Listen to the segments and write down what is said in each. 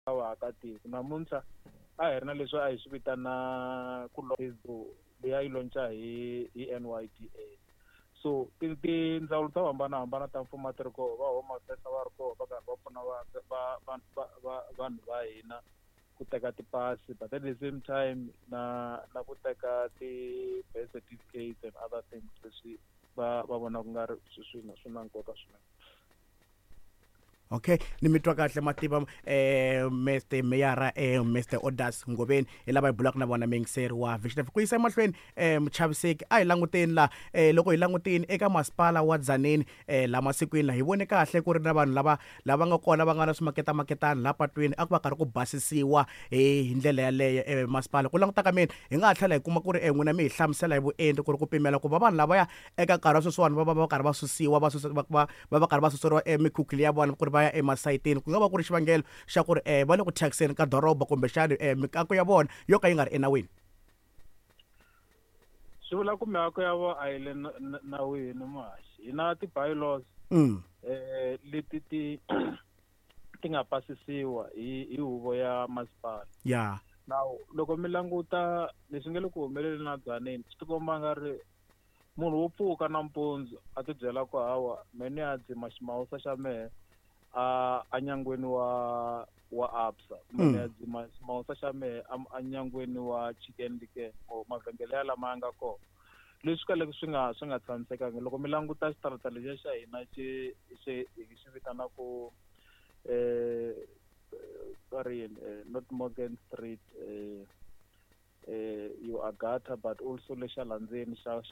Vaakatiko namuntlha a hi ri na leswi a hi swi vitana ku Facebook leyi a yi lonca hi NYDA. So tindzawulo to hambanahambana ta mfumo a ti ri koho, va Home Affairs a va ri koho va karhi va pfuna va vanhu va hina ku teka tipasi, but at the same time na ku teka ti-birth certificates and other things leswi va vona ku nga ri swi na nkoka swinene. Okay, ni mi twa kahle mativa Mr Meyara, Mr Odas Ngoveni, hi lava hi bulaka na vona, muyingiseri wa Vision. Ku yisa emahlweni, muchaviseki, a hi languteni la, loko hi langutini eka masipala wa Tzaneen, la masikwini la hi vone kahle ku ri na vanhu lava nga kona va nga na swimaketamaketana la patwini, a ku va karhi ku basisiwa hi ndlela yaleyo. Masipala ku languta ka mina, hi nga ha tlhela hi kuma ku ri n'wina mi hi hlamusela hi vuenti ku ri ku pimela ku va vanhu lavaya eka nkarhi wa sweswiwani va karhi va susiwa, va susa, va karhi va suseriwa emikhukhu ya vona ku ri va ya emasayitini, ku nga va ku ri xivangelo xa ku ri va le ku thyakiseni ka doroba, kumbexani miako ya vona yo ka yi nga ri enawini? Swi vula ku miako ya vona a yi le nawini, muhaxi. Hi na ti-bylaws leti ti nga pasisiwa hi huvo ya masipala. Now loko mi languta leswi nge le ku humeleleni na Tzaneen, swi tikomba nga ri munhu wo pfuka nampundzu a ti byela ku hawa me ni ya dzima ximawusa xa mehe a nyangweni wa Absa, kumbe ni ya dzima ximawusa xa mehe a nyangweni wa Chicken Licken or mavhengele ya lama ya nga kona, leswi kaleke swi nga tshamisekangi. Loko mi languta xitarata lexiya xa hina xi hi xi vitanaku va ri yini, not Morgan Street, yo Agatha, but also lexa la ndzeni xa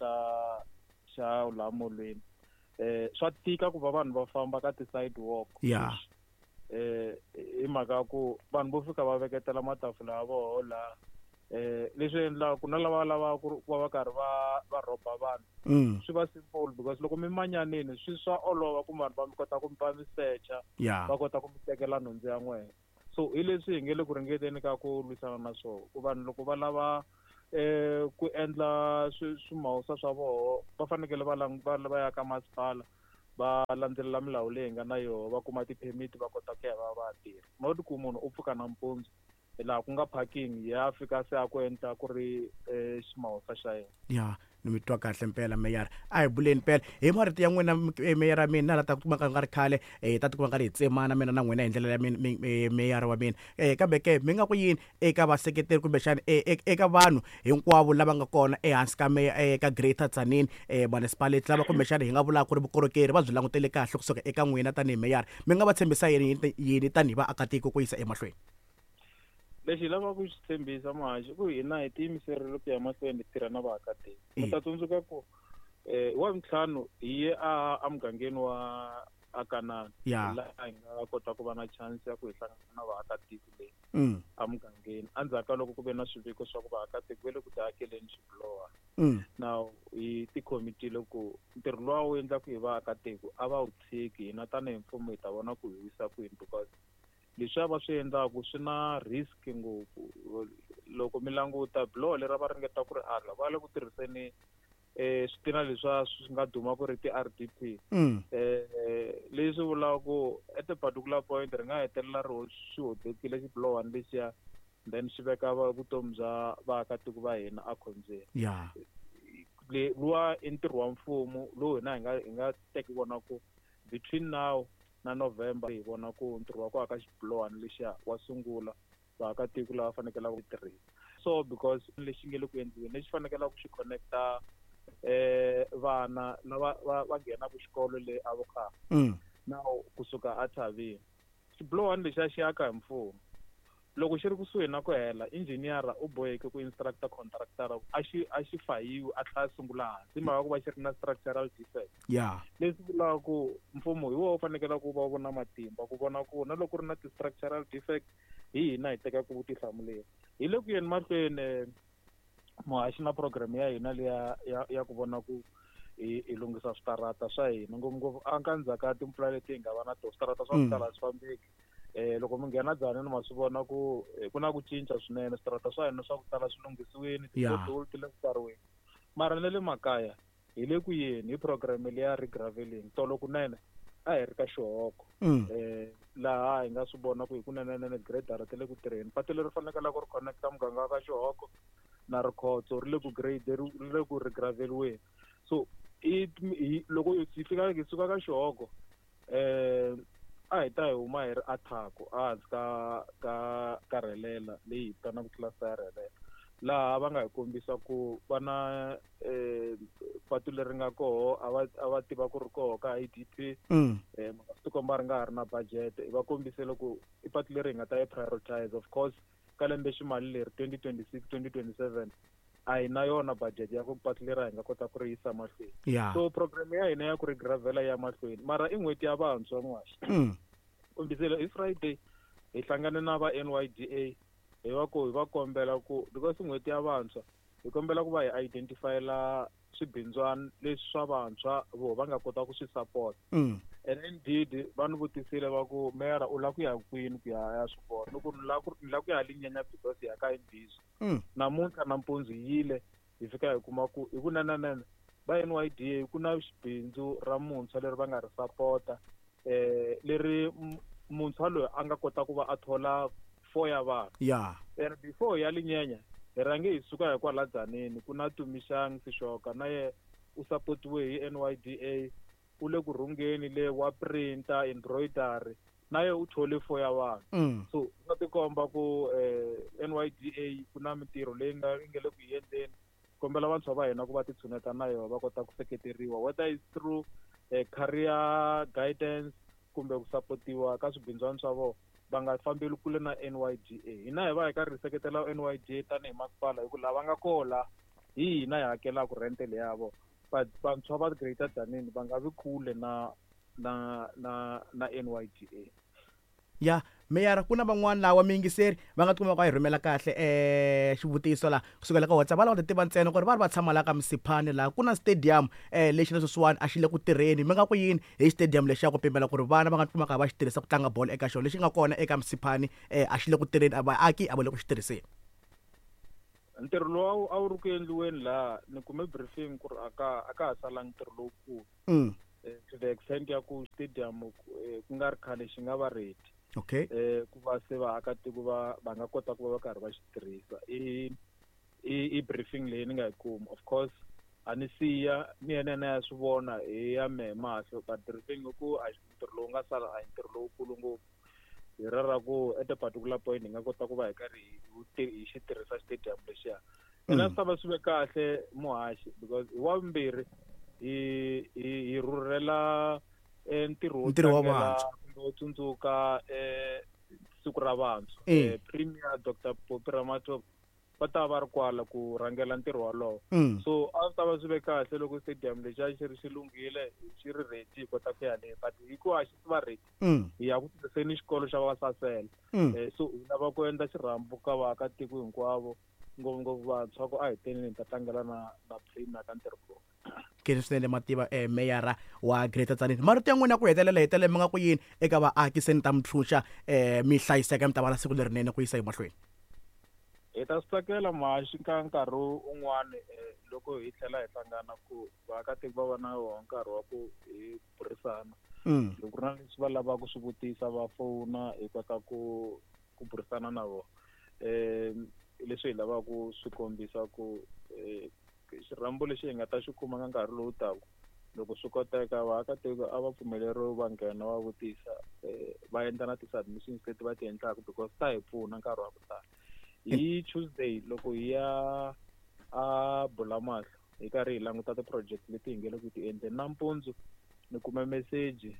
laha molweni, swa tika ku va vanhu va famba ka ti-sidewalk. Hi mhaka ya ku vanhu vo fika va veketela matafula ya voho la, leswi endlaka ku na lava lavaka ku va karhi va rhoba vanhu. Swi va simple because loko mi manyanini swi swa olova ku vanhu va mi kota ku va mi secha, va kota ku mi tekela nhundzu ya n'wina. So hi leswi hi nge le ku ringeteni ka ku lwisana na swona, ku vanhu loko va lava ku endla swimawusa swa voho, va fanekele va ya ka masipala, va landzelela milawu leyi nga na yoho, va kuma ti-permit, va kota ku ya va tirha, not ku munhu u pfuka nampundzu laha ku nga parking ya fika se a ku endla ku ri ximawusa xa yena. Ya, ni mi twa kahle mpela, meyara. A hi buleni mpela hi marito ya n'wina, meyara. Mina la ta kuma ka nga ri khale, hi ta tikuma nga ri hi tsemana mina na n'wina hi ndlela ya meyara wa mina, kambe ke mi nga ku yini eka vaseketeri kumbexani eka vanhu hinkwavo lava nga kona ehansi ka ka Greater Tzaneen Municipality, lava kumbexani hi nga vulaka ku ri vukorhokeri va byi langutele kahle kusuka eka n'wina tanihi meyara? Mi nga va tshembisa yini tanihi vaakatiko ku yisa emahlweni? Lexi hi lavaka ku xi tshembisa, muhaxi, ku hina hi tiyimiserile ku ya mahlweni hi tirha na vaakatiko. Mi ta tsundzuka ku wa vuntlhanu hi ye a mugangeni wa Akanani, laha hi nga kota ku va na chance ya ku hi hlangana na vaakatiko leyi emugangeni, endzhaku ka loko ku ve na swiviko swa ku vaakatiko va le ku tiakeleni swibilowa. Now hi tikhomitile ku ntirho luwa wu endlaku hi vaakatiko a va wu tshiki, hina tanihi mfumo hi ta vona ku hi wisa kwini, because leswiya va swi endlaku swi na risk ngopfu. Loko mi languta biloho leri va ringeta ku ri aka, va le ku tirhiseni switina leswiya swi nga duma ku ri ti-RDP, leswi vulaka ku at a particular point ri nga hetelela ri swi hodekile xibilohwani lexiya, then swi veka vutomi bya vaakatiko va hina ekhombyeni. Luwa i ntirho wa mfumo lowu hina hi nga teki vona ku between now na November hi vona ku ntirho wa ku aka xibilohwani lexiya wa sungula, vaakatiko lava fanekelaka ku tirhisa. So because lexi nge le ku endliweni lexi fanekelaka ku xi connecta vana lava va nghenaka xikolo le Avocar now kusuka athavini, xibilohwani lexiya xi aka hi mfumo. Loko xi ri kusuhi na ku hela, engineer u boheke ku instructa contractor a xi fayiwi, a tlhela a sungula hansi, hi mhaka ku va xi ri na structural defect. Leswi vulaka ku mfumo hi wona wu fanekele ku va vona matimba ku vona ku na loko ku ri na ti-structural defect, hi hina hi tekaka vutihlamuleri. Hi le ku yeni mahlweni, muhaxi, na program ya hina leya ya ku vona ku hi lunghisa switarata swa hina, ngopfungopfu a ka ndzhaku ka timpfula leti hi nga va na tona, switarata swa ku tala a swi fambeki. Loko mi nghena Tzaneen ma swi vona ku ku na ku cinca swinene, switarata swa hina swa ku tala swi lunghisiwile, ti-pothole ti le ku pfariweni, mara na le makaya hi le ku yeni hi program leya regraveling. Tolo kunene A hi ri ka Xihoko. Laha hi nga swi vona ku hi kunenenene gradara ti le ku tirheni. Patu leri fanekele ku ri connecta muganga wa ka Xihoko na Rikhotso ri le ku grade ri le ku ri graveliweni. So i loko hi fika hi suka ka Xihoko a hi ta hi huma hi ri athako ehansi ka rhelela leyi hi vitanaka cluster ya rhelela, laha va nga hi kombisa ku va na patu leri nga koho a va tiva ku ri koho ka IDP. Swi tikomba ri nga ha ri na budget. Va kombisile ku i patu leri hi nga ta yi prioritize. Of course ka lembe ximali leri 2026 2027 a hi na yona budget ya ku patu leri hi nga kota ku ri yisa mahlweni. So program ya hina ya ku ri gravela ya mahlweni, mara i n'hweti ya vantshwa n'waxi. Kombisile hi Friday hi hlangane na va NYDA, hi va ku hi va kombela ku because n'hweti ya vantshwa hi kombela ku va hi identifyela swibindzwana leswi swa vantshwa vo va nga kota ku swi support. And indeed va ni vutisile va ku meyara u lava ku ya kwini ku ya swi vona, ni ku ni lava ku ya Linyanya because ya ka imbizo. Namuntlha nampundzu hi yile hi fika hi kuma ku hi kunenenene va NYDA ku na xibindzu ra muntshwa leri va nga ri sapota, leri muntshwa loyi a nga kota ku va a thola 4 ya vanhu. And before ya Linyanya hi rhange hi suka hi kwala Dzaneni ku na Tumixang Sishoka, na ye u sapotiwe hi NYDA, u le ku rhungeni le wa printer embroidery, na ye u thole 4 ya vanhu. So swa tikomba ku NYDA ku na mintirho leyi nga le ku yi endleni. Kombela vantshwa va hina ku va titshuneta na yona va kota ku seketeriwa, whether it's through career guidance kumbe ku sapotiwa ka swibindzwana swa vona, va nga fambeli kule na NYDA. Hina hi va hi karhi hi seketela NYDA tanihi masipala, hi ku lava nga koho la hi hina hi hakelaka rent leyi ya vona, but vantshwa va Greater Tzaneen va nga vi kule na NYDA. Ya meyara, ku na van'wana lawa miyingiseri va nga tikuma va yi rhumela kahle xivutiso la kusukela ka WhatsApp, va lava ku tiva ntsena ku ri va ri va tshama la ka Msiphane laha ku na stadium lexi na sweswiwani a xi le ku tirheni. Mi nga ku yini hi stadium lexi ya ku pimela ku ri vana va nga tikumaka va xi tirhisa ku tlanga bolo eka xona, lexi nga kona eka Msiphane a xi le ku tirheni, a vaaki a va le ku xi tirhiseni? Ntirho lowu a wu ri ku endliweni laha, ni kume briefing ku ri a ka ha salangi ntirho lowukulu. To the extent ya ku stadium ku nga ri khale xi nga va ready. Ku va se vaakatiko va nga kota ku va va karhi va xi tirhisa. I briefing leyi ni nga yi kuma. Of course a ni siya ni yena na ya swi vona hi ya mehe mahlo, but briefing i ku a ntirho lowu nga sala a hi ntirho lowukulu ngopfu. Hi ra ku at a particular point hi nga kota ku va hi karhi hi xi tirhisa stadium lexiya. Ina swi ta va swi ve kahle muhaxi, because hi wa vumbirhi hi rhurhela ntirho wo Ntirho wa tlangela vantshwa. kumbe wo tsundzuka siku ra vantshwa. Premier Dr Phophi Ramathuba va ta va ri kwala ku rhangela ntirho wolowo. So a swi ta va swi ve kahle loko stadium lexi a xi ri xi lunghile, xi ri ready hi kota ku ya le, but hi ku a xi va ready hi ya ku tirhiseni xikolo xa Vasasele. So hi lava ku endla xirhambo ka vaakatiko hinkwavo, ngopfungopfu vantshwa, ku a hi teneni hi ta tlangela na Premier ka ntirho lowu. Khensa swinene Mativa, meyara wa Greater Tzaneen. Marito ya n'wina ku hetelela hetelela mi nga ku yini eka vaaki se ni ta mi ntshunxa, mi hlayiseka, mi ta va na siku lerinene ku yisa emahlweni? Hi ta swi tsakela muhaxi ka nkarhi un'wani loko hi tlhela hi hlangana ku vaakatiko va va na wona nkarhi wa ku hi burisana. Loko ku ri na leswi va lavaka ku swi vutisa va fona hi kota ku burisana na vona. Leswi hi lavaka ku swi kombisa ku xirhambo lexi hi nga ta xi kuma ka nkarhi lowu taka, loko swi koteka vaakatiko a va pfumeleriwi va nghena va vutisa, va endla na ti-submissions leti va ti endlaka because ta hi pfuna nkarhi wa ku tala. Hi Tuesday loko hi ya a Bulamahlo hi karhi hi languta ti-project leti hi nge le ku ti endleni, nampundzu ni kume meseji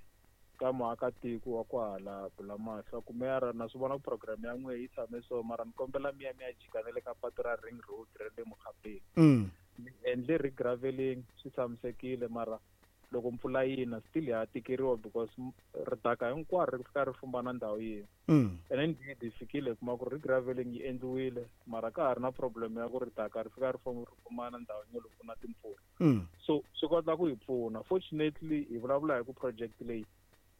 ka muakatiko wa kwahala Bulamahlo ku meyara na swi vona ku program ya n'wehe yi tshame so, mara ni kombela mi ya mi ya jika na le ka patu ra Ring Road ra le Mokgapeng. Ni endle regraveling, swi tshamisekile, mara loko mpfula yi na still ya tikeriwa because ridaka hinkwaro ri fika ri fumba na ndhawu yin'we. And then hi fikile hi kuma ku regraveling yi endliwile, mara ka ha ri na problem ya ku ridaka ri fika ri fumba na ndhawu yin'we loko ku na timpfula. So swi kota ku hi pfuna. Fortunately hi vulavula hi ku project leyi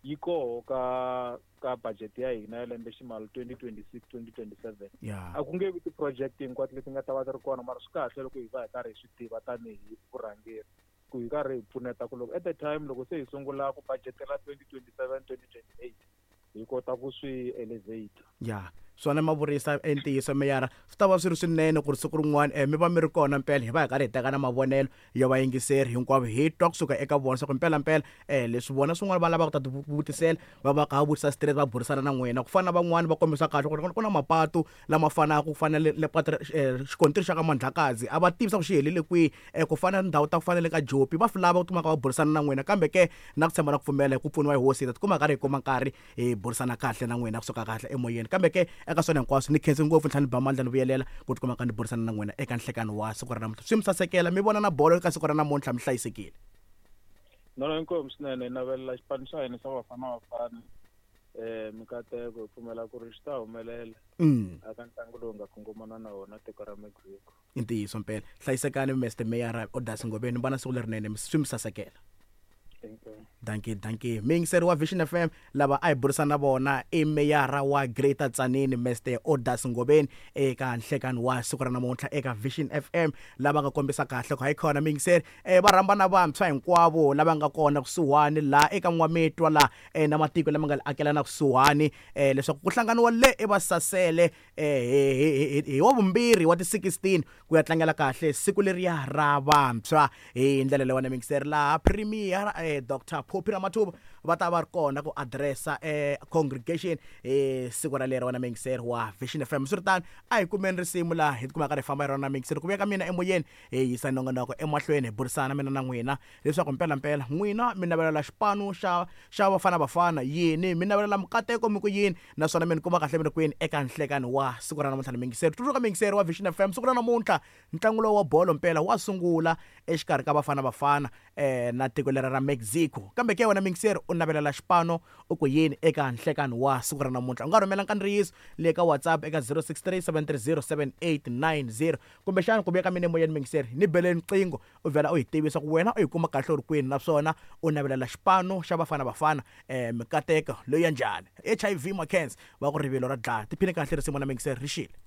yi koho ka budget ya hina ya lembe ximali 2026 2027. A ku nge vi ti-project hinkwato leti nga ta va ti ri kona, mara swi kahle loko hi va hi karhi hi swi tiva tanihi vurhangeri. Ku hi karhi hi pfuneta ku loko at the time loko se hi sungula ku budgetela 2027 2028 hi kota ku swi elevate. Ya, swona ma vurisa ntiyiso, meyara. Swi ta va swi ri swinene ku ri siku rin'wana mi va mi ri kona mpela, hi va hi karhi hi teka na mavonelo ya vayingiseri hinkwavo, hi twa kusuka eka vona swa ku mpelampela leswi vona swin'wana va lavaka ku ta ti vutisela, va va kha va vutisa straight, va burisana na n'wina. Ku fana na van'wani va kombisa kahle ku ri ku na mapatu lama fanaka, ku fana le patu xikontiri xa ka Mandlakazi, a va tivi swa ku xi helele kwihi, ku fana na ndhawu ta ku fana le ka Jopi, va swi lava ku tikuma kha va burisana na n'wina. Kambe ke na ku tshemba na ku pfumela hi ku pfuniwa hi hosi, hi ta tikuma karhi hi kuma nkarhi hi burisana kahle na n'wina kusuka kahle emoyeni. Kambe ke eka swona hinkwaswo, ni khensi ngopfu, ni tlhela ni ba mandla ni vuyelela ku tikuma ka ni burisana na n'wina eka nhlekani wa siku ra namuntlha. Swi mi sasekela, mi vona na bolo eka siku ra namuntlha, mi hlayisekile. No, inkomu swinene. Hi navelela xipano xa hina xa Bafana Bafana mikateko, hi pfumela ku ri xi ta humelela aka ntlangu lowu nga kongomana na wona tiko ra Mexico. I ntiyiso mpela. Hlayisekani, Mr Meyara Odas Ngobeni, va na siku lerinene, swi mi sasekela. Dankie, dankie. Muyingiseri wa Vision FM, lava a hi burisana na vona i meyara wa Greater Tzaneen, Mr Odas Ngobeni, eka nhlekani wa siku ra namuntlha eka Vision FM, lava nga kombisa kahle ku hayikhona muyingiseri va rhamba na vantshwa hinkwavo lava nga kona kusuhani laha eka N'wamitwa laha na matiko lama nga akelana kusuhani leswaku ku hlanganiwa le eVasasele hi wa vumbirhi wa ti 16 ku ya tlangela kahle siku leriya ra vantshwa hi ndlela leyiwani. Miyingiseri, laha Premier Dr Phophi Ramathuba va ta va ri kona ku addressa congregation hi siku ra lero, wena miyingiseri wa Vision FM. Swiritano, a hi kumeni risimu laha hi tikuma karhi hi famba hi rona, miyingiseri. Ku vuya ka mina emoyeni, hi yisa nongonoko emahlweni, hi burisana mina na n'wina leswaku mpelampela n'wina mi navelela xipano xa Bafana Bafana yini, mi navelela mikateko mi ku yini, naswona mi ni kuma kahle mi ri kwini eka nhlekani wa siku ra namuntlha ni miyingiseri. Tsundzuka, miyingiseri wa Vision FM, siku ra namuntlha ntlangu lowu wa bolo mpela wa sungula exikarhi ka Bafana Bafana na tiko lera ra Mexico. Kambe ke wena miyingiseri, u navelela xipano u ku yini eka nhlekani wa siku ra namuntlha? U nga rhumela nkandziyiso le ka WhatsApp eka 063 730 7890, kumbexana ku vuya ka mina emoyeni, miyingiseri, ni beleni nqingho u vhela u hi tivisa ku wena u yi kuma kahle u ri kwini, naswona u navelela xipano xa Bafana Bafana mikateko loyi ya njhani. HIV Mackenzie va ku rivilo ra dlaya. Tiphine kahle risimu na miyingiseri, ri xile.